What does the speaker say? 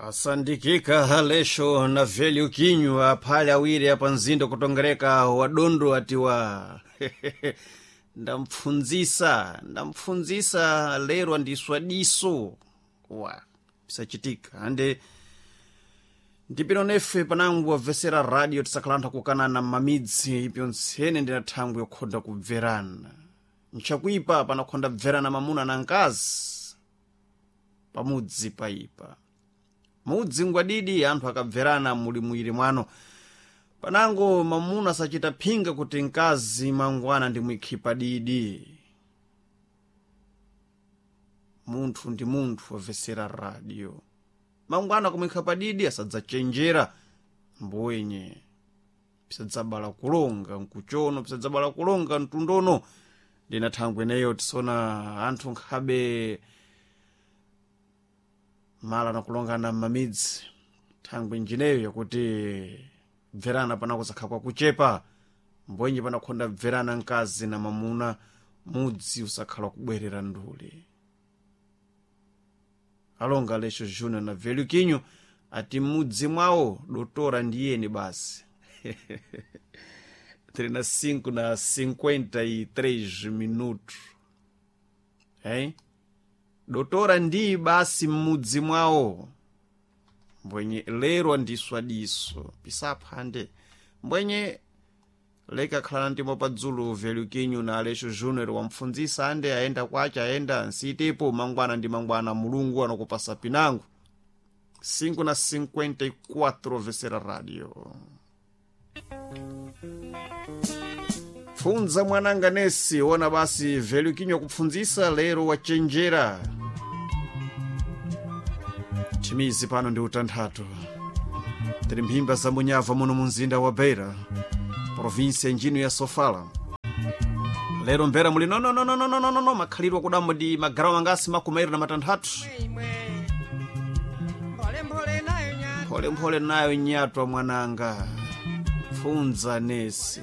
Asandikika halesho na velho kinywa aphale awiri apa mzinda kutongereka wadondo atiwa ndampfundzisa lero andiswa diso wa pisachitika ande ndipino nefe panangu wabvesera radio tisakhalantha kukanana m'mamidzi ipyo ntsene ndina thangwi yokhonda kubverana nchakuipa panakhonda bverana mamuna na mkazi pamudzi paipa mudzi ngwadidi anthu akabverana muli mwiri mwano panango mamuna asachita phinga kuti mkazi mangwana ndimwikhipa didi munthu ndi munthu wabvesera radio mangwana kumwikha didi asadzachenjera mbwenye pisadzabala kulonga nkuchono pisadzabala kulonga mtundono ndina thangwi ineyo tisona anthu nkhabe mala nakulongana m'mamidzi thangwi njineyo yakuti bverana panako zakhala kwakuchepa mbwenye panakhonda bverana mkazi na mamuna mudzi usakhala kubwerera nduli alonga Aleixo Júnior na Velho Quinho ati mudzi mwawo dotora ndiyeni basi 35 na 53 minutos hein? Dotora ndiyi basi mmudzi mwawo mbwenye lero andiswa diso pisaphande mbwenye leka khalana ndimo padzulu Velho Quinho na Aleixo Júnior wampfundzisa ande aenda kwace aenda nsitepo mangwana ndi mangwana mulungu anakupasa pinango 5 na 54 vesera radio pfunza mwananga nesi ona basi Velho Quinho kupfundzisa lero wachenjera chimizi pano ndi utanthatu tiri mphimba za munyava muno mu mzinda wa Beira, provinsia njino ya Sofala. Lero mbera muli nonononononono makhalidwe akudamo ndi magarawo angasi 23. Mpholemphole nayo nyatwa mwananga pfunza nesi.